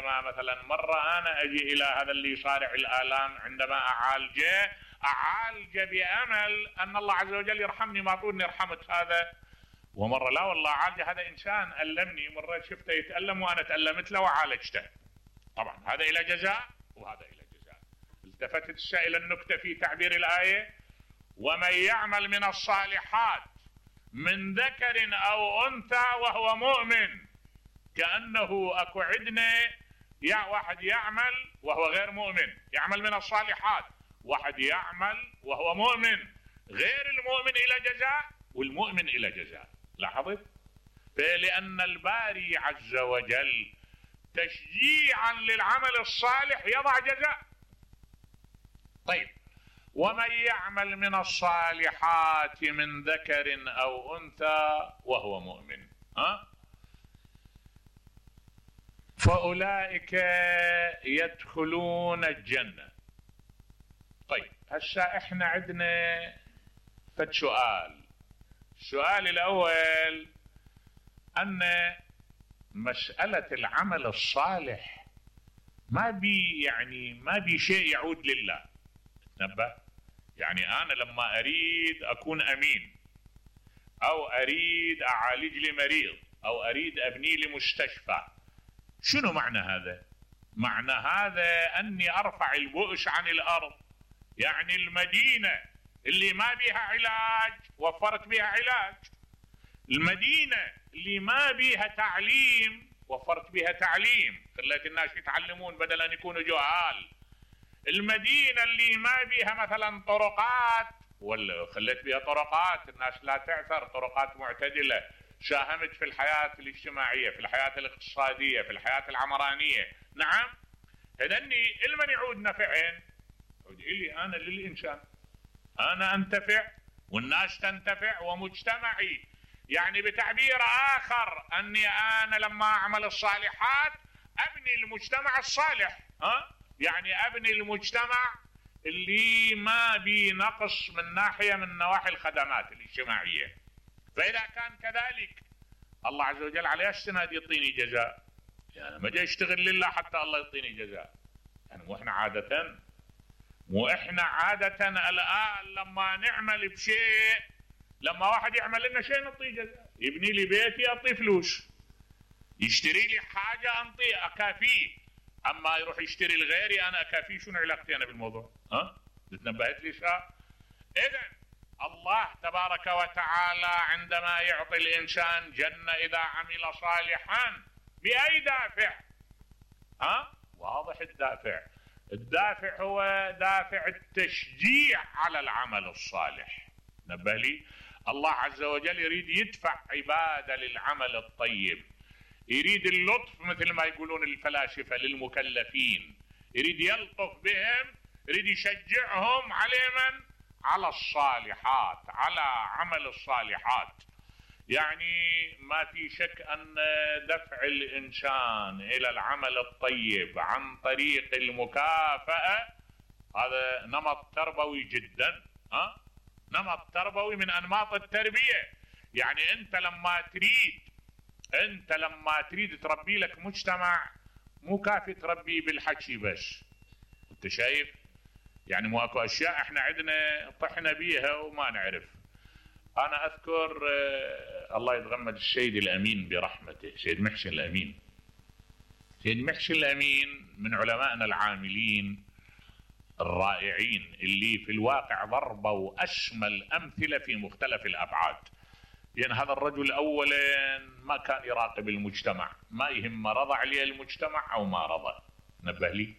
عندما مثلا مرة أنا أجي إلى هذا اللي يصارع الآلام، عندما أعالجه بأمل أن الله عز وجل يرحمني، ما طولني رحمت هذا. ومرة لا والله عالجه هذا إنسان ألمني، مرة شفته يتألم وأنا تألمت له وعالجته. طبعا هذا إلى جزاء وهذا إلى جزاء. التفتت إلى النكتة في تعبير الآية: ومن يعمل من الصالحات من ذكر أو أنثى وهو مؤمن. كأنه أكو عندنا واحد يعمل وهو غير مؤمن، يعمل من الصالحات، واحد يعمل وهو مؤمن، غير المؤمن إلى جزاء والمؤمن إلى جزاء. لاحظت؟ فلأن الباري عز وجل تشجيعا للعمل الصالح يضع جزاء. طيب، ومن يعمل من الصالحات من ذكر أو أنثى وهو مؤمن فأولئك يدخلون الجنة. طيب، هسه احنا عندنا فد سؤال. السؤال الأول أن مسألة العمل الصالح ما بي شيء يعود لله. تنبه، يعني أنا لما أريد أكون أمين، أو أريد أعالج لي مريض، أو أريد أبني لي مستشفى، شنو معنى هذا؟ معنى هذا أني أرفع البؤس عن الأرض. يعني المدينة اللي ما بيها علاج وفرت بيها علاج، المدينة اللي ما بيها تعليم وفرت بيها تعليم، خليت الناس يتعلمون بدل أن يكونوا جهال. المدينة اللي ما بيها مثلا طرقات، ولا خليت بيها طرقات الناس لا تعثر، طرقات معتدلة، ساهمت في الحياة الاجتماعية، في الحياة الاقتصادية، في الحياة العمرانية. نعم، هذني لمن يعود نفعين؟ يعود إلي أنا، للإنسان. أنا أنتفع والناس تنتفع ومجتمعي. يعني بتعبير آخر أني أنا لما أعمل الصالحات أبني المجتمع الصالح. يعني أبني المجتمع اللي ما بي نقص من ناحية من نواحي الخدمات الاجتماعية. فإذا كان كذلك الله عز وجل على السند يعطيني جزاء. يعني ما جاي اشتغل لله حتى الله يعطيني جزاء. يعني مو احنا عادة الآن لما نعمل بشيء، لما واحد يعمل لنا شيء نعطيه جزاء. يبني لي بيتي أعطيه فلوس، يشتري لي حاجة أنطيه أكافيه. أما يروح يشتري لغيري أنا أكافيه، شنو علاقتي أنا بالموضوع؟ تنبهت لي شاء؟ إذن الله تبارك وتعالى عندما يعطي الإنسان جنة إذا عمل صالحا بأي دافع؟ واضح الدافع هو دافع التشجيع على العمل الصالح. نبه لي، الله عز وجل يريد يدفع عباده للعمل الطيب، يريد اللطف مثل ما يقولون الفلاسفة للمكلفين، يريد يلطف بهم، يريد يشجعهم على من؟ على الصالحات، على عمل الصالحات. يعني ما في شك أن دفع الإنسان إلى العمل الطيب عن طريق المكافأة هذا نمط تربوي جدا، نمط تربوي من أنماط التربية. يعني أنت لما تريد تربي لك مجتمع، مو كافي تربي بالحكي بس. أنت شايف؟ يعني مو اكو اشياء احنا عندنا طحنا بيها وما نعرف. انا اذكر الله يتغمد السيد الامين برحمته، سيد محسن الامين. سيد محسن الامين من علمائنا العاملين الرائعين اللي في الواقع ضربوا اسمى الامثله في مختلف الابعاد. يعني هذا الرجل اولا ما كان يراقب المجتمع، ما يهم رضى عليه المجتمع او ما رضى. نبه لي،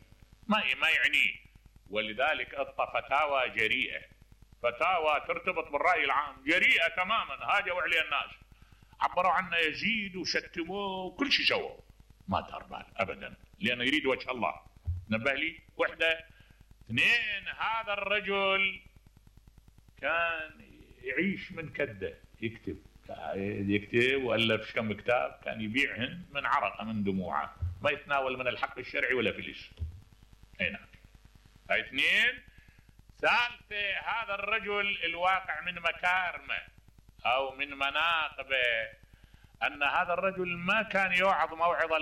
ما يعنيه. ولذلك اعطى فتاوى جريئة، فتاوى ترتبط بالرأي العام، جريئة تماما. هاجوا عليه الناس، عبروا عنه يزيد وشتموه وكل شيء سووا، ما دار بال أبدا، لأنه يريد وجه الله. نبه لي، وحدة. اثنين، هذا الرجل كان يعيش من كده، يكتب وألف كم كتاب، كان يبيعهن من عرقه من دموعه، ما يتناول من الحق الشرعي ولا فلس. هنا اثنين. ثالثة، هذا الرجل الواقع من مكارمه أو من مناقبه أن هذا الرجل ما كان يوعظ موعظة